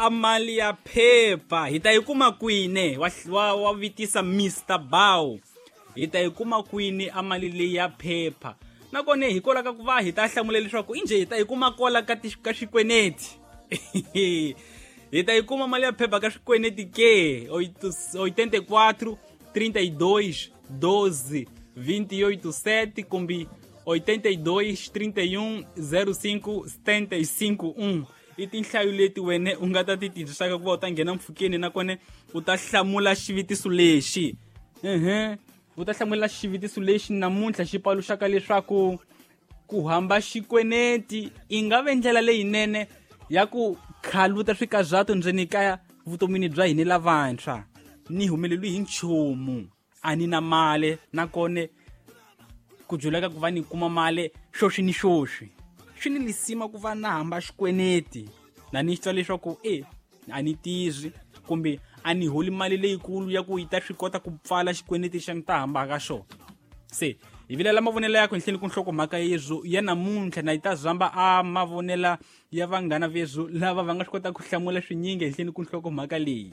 A mali ya phepha hi ta yi kuma kwini? Wa vitisa Mr Bow. Hi ta yi kuma kwini a mali leyi ya phepha? Nakona hikwalaho ka ku va hi ta hlamula leswaku injhe hi ta yi kuma kwala ka xikweneti. Hi ta yi kuma mali ya phepha ka swikweleti ke? 84 32 12 28 7 kumbe 82 31 05 75 1 i tinhlayo leti wene u nga ta ti tirhisaka ku va u ta nghena mpfhukeni, nakona u ta hlamula xivutiso lexi. U ta hlamula xivutiso lexi namuntlha xi paluxaka leswaku ku hamba xikweneti i nga ve ndlela leyinene ya ku khaluta swikazatu ndzeni ka vutomini bya hina lavantshwa. Ni humeleliwi hi nchumu, a ni na mali, nakona ku juleka ku va ni kuma mali xoxi ni xoxi swi ni lisima ku va na hamba xikweneti, na ni twa leswaku e a ni tirhi kumbe a ni holi mali leyikulu ya ku yi ta swi kota ku pfala xikweneti xa ni ta hambaka xona. Se hi vilela mavonelo yakho henhleni ku nhlokomhaka yezwo ya namuntlha, na yi ta zamba a mavonela ya vanghana vezwo lava va nga swi kota ku hlamula swinyingi henhleni ku nhlokomhaka leyi.